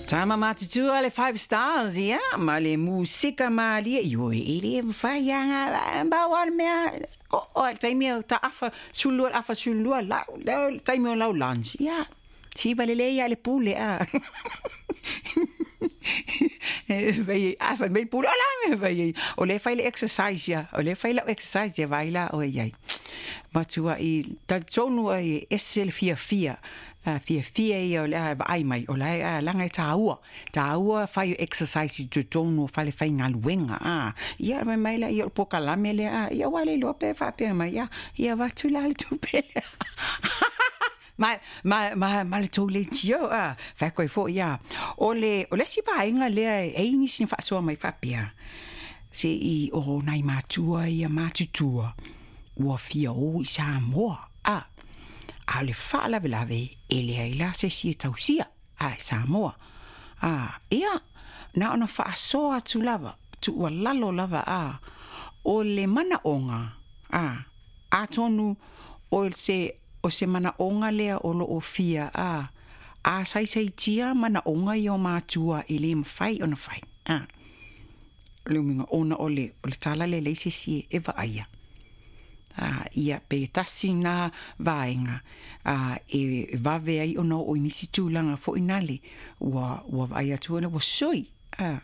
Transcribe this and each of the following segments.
Tama matutua le Five Stars, ia, ma le musika malie, ioe, e le mawhai anga, mbau le mea, o, o, taimi o ta afa, sulua, afa sulua, lau, lau, taimi o lau lunch, ia, siva le lea le pule, a. Vai, afa me pule, ola, vai, o le fai le exercise, ia, o le fai lau exercise, ia, vai la, o iai. Matua i talitonu ai e ese le fiafia, fiafia ia o le a vaai mai, o la e laga e tāua, tāua fai o exercise i totonu o fale faigaluega, a. Ia mai mai la ia o le polokalame lea, a, ia ua le iloa pe faapea mai, ia, ia avatu la le tupe lea. Ma le tou leitio, a, fai atu ai foi, a. O le isi vaega lea e ai nisi na faasoa mai faapea, se i o nai matua ia matutua, ua fia o i Samoa, a. A o le faalavelave, e leai la se isi e tausia, a, i Samoa. A, ia, na ona faasoa atu lava, tuualalo lava, a, o le manaoga, a, atonu o se manaoga lea o loo fia, a, a saisaitia manaoga ia o matua e le mafai ona fai, a. Le uiga ona o le tala lea leai se isi e vaaia. A, ia pe tasi na vaega a, e vave ai ona oo i nisi tulaga foi nale ua vaai atu ua sui, a.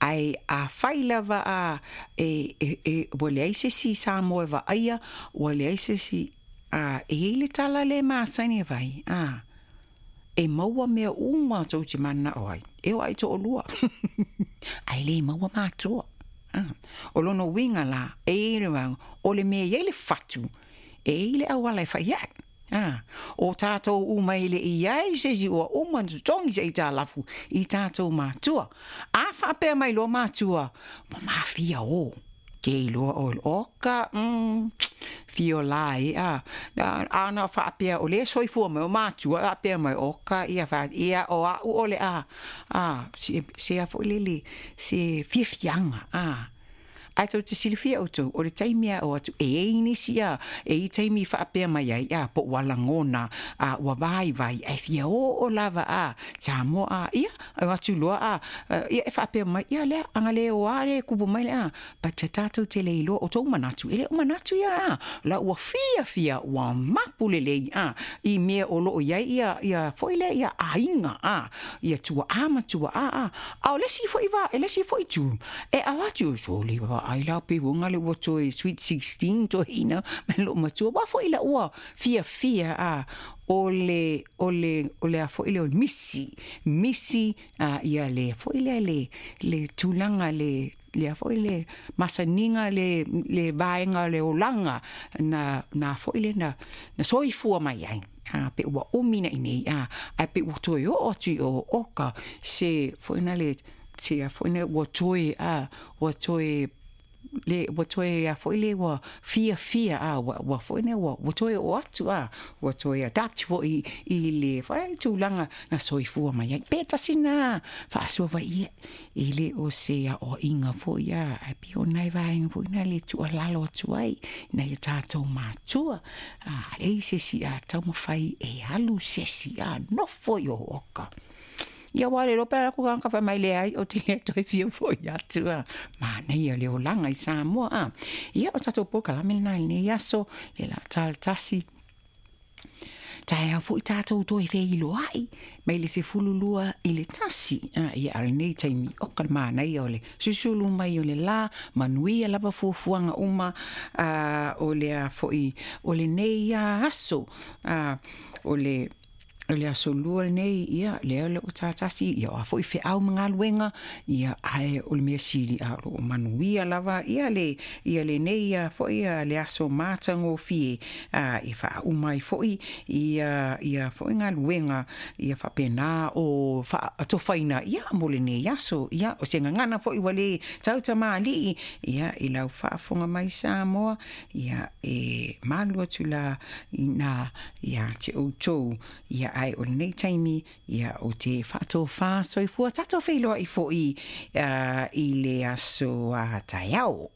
Ae a fai lava a e ua leai se isi Samoa e vaaia, ua leai se isi a, e iai le tala le masani e vai, a. E maua mea uma tou te mananao ai, e o ai toalua. Ae le maua matua. A. O lona uiga la, e iai le vaega, o le mea e iai le fatu, e iai le auala e fai ai. A, o tatou uma e le i ai se isi ua uma ona totogi se aitalafu i tatou matua. A faapea mai loa matua, ua mafia o. Ke iloa oe oka, fio la e, a. Ana faapea o le soifua mai o matua, faapea mai oka, ia, fa, ia o au o le a, a, se a foi lele, se fiafiaga, a. Ae tou te silafia outou, o le taimi a o atu, e iai nisi a, e i taimi faapea mai ai, a, po ua lagona, a, ua vaivai, ae fia oo lava, a, Samoa, a, ia, o atu loa, a, ia, e faapea mai, ia lea, aga le o a le kupu mai le, a, but tatou te le iloa, o tou manatu, e le o manatu ia, a, la ua fiafia, ua mapu lelei, a, i mea o loo iai ia, ia foi lea, ia aiga, a, ia tuaa ma tuaa, a, a o le isi foi va, e le isi foi tu, e avatu, soli vaai la pe uga le ua toe sweet 16 toe ina, me lo matua, wa foi la ua fiafia, a, o le a foi le o misi, misi, a, ia le foi lea le tulaga le a foi le masaniga le vaega o le olaga na foi le na soifua mai ai. A, pe ua umi na inei, a, ae pe ua toe oo atu i o oka se foi na le se a foi na ua toe a ua toe le ua toe a foi le ua fiafia a ua foi na ua toe oo atu a ua toe adapt foi i le foi tulaga na soifua mai ai. Pe tasi na faasoa vai ia e le o se aoaiga foi a ae pei o nai vaega foi na le tuualalo atu ai nai o tatou matua a leai se isi a taumafai e alu se isi a nofo i o oka. Ia ua le lope ala ku ka fai mai leai o te le toe fia foi atu a. Manaia le olaga i Samoa a. Ia o tatou polokalame lena i lenei aso le la tasi. Taeao foi tatou toe feiloai mai le 12:40. A, ia a lenei taimi o ka manaia o le susulu mai o le la manuia lava fuafuaga uma a, o le a foi o lenei aso a, o le aso lua lenei ia lea le o tatasi ia o a foi feau ma galuega ia ae o le mea sili a o loo manuia lava ia le ia lenei ia foi ia le aso matagofie a e faauma ai foi ia foi galuega ia faapena o faatofaina ia mo lenei aso ia o se gagana foi ua le tautamalii ia i lau faafofoga mai Samoa ia e malu atu la ina ia te outou ia ae o lenei taimi ia o te faatofā soifua tatou feiloai foi i le aso taeao.